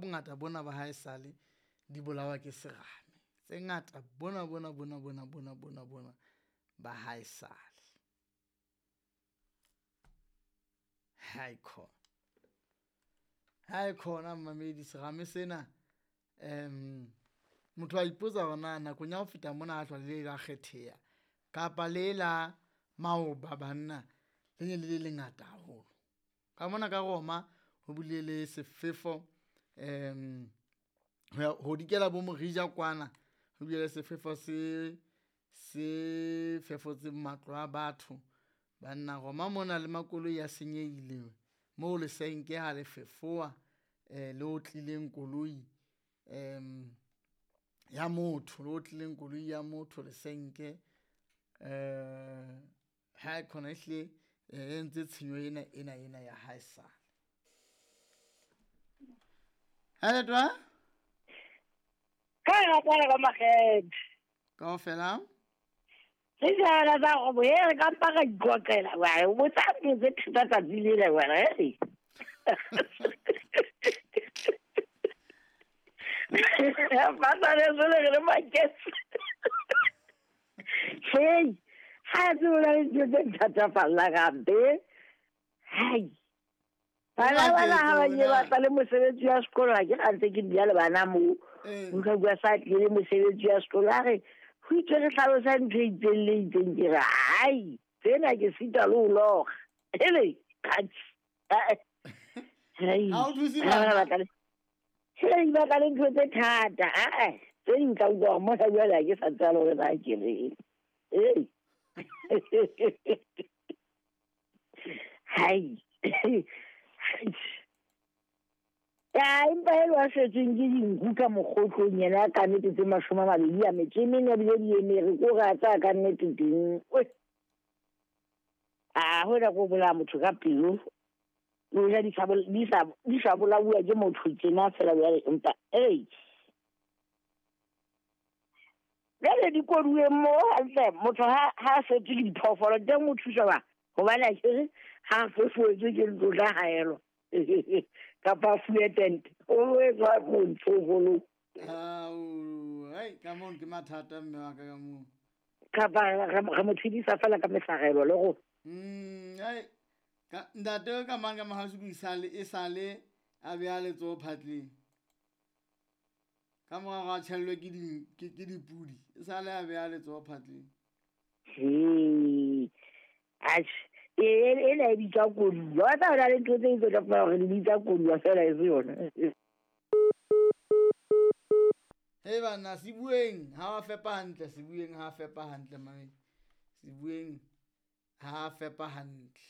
bongata bona ba hae sale di bolawa ke serame. Tse ngata bona bona bona bona bona bona bona ba hae sale. Hai khona, hai khona mmamedi serame sena motho a ipotsa hore na nakong ya ho feta mona ha hlwa le la kgetheha kapa le la maoba banna le ne le le lengata haholo. Ka mona ka Roma ho bile le sefefo ho ya ho dikela bo Morija kwana ho bile le sefefo se se fefotseng matlo a batho. Banna Roma mona le makoloi a senyehile moo lesenke ha le fefowa le otlileng koloi ya motho, le otlileng koloi ya motho lesenke. Ha khona ehlile e entse tshenyo ena ena ena ya haesale. Haletwa Ka rata ka makgethe. kaofela. Re jana tsa go e re ka mpa ra iqoqela wa o botsa ntho tse thata tsatsi lena wena e. Ba sa re le re maketse. Hey, ha tse o na le ntho tse thatafallang hampe. Hai. Bana bana ha ba ile ba tla le mosebetsi wa sekolo ha ke ga ntse ke dula le bana moo. Nka bua sa tlile mosebetsi wa sekolo a re ho itswe re hlalosa ntho e itseng le itseng ke re hai tsena ke sita le ho loga. Hele, kgatsi. Hai. Ha o thuse Bana bana. ba tla le- Hei, ba tla le ntho tse thata. Ae, tse ding tla utlwa hore mona jwale ha ke sa tseba le hore na ke reng. Ei. Hai. Ya, empa e le wa shwetsweng ke dinku ka mokgotlong yena ka nnete tse 24 a bile di emere, ko re a tsaya ka nnete teng. Oi. A hona ko bolaya motho ka pelo. Le hoja di sa di sa di sa bolauwa ke motho tjena fela jwale empa ei. Jwale di koduweng moo hantle motho ha ha setswe ke diphoofolo teng o thuswa ba hobane akere ha a fefoetswe ke ntlo tla haelwa kapa a fuwe tente o etswa montsho holo. Ao, hai ka moo ke mathata mme wa ka ka moo. Kapa re mo tshedisa fela ka mesarelo le go. Hai ka ntate ka mang ka mahausi e sale a beha letsoho phatleng. Ka mora hore a tjhellwe ke ke dipudi, e sale a beha letsoho phatleng. He. Atjhe, ena e bitswa koduwa. Wa tseba ho na le ntho tse ding tse tla fumana hore di bitsa koduwa fela e se yona. Hei banna, Sebueng ha wa fepa hantle, Sebueng ha fepa hantle mame. Sebueng ha fepa hantle.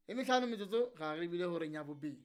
E mehlano metsotso ra re bile horeng ya bobedi.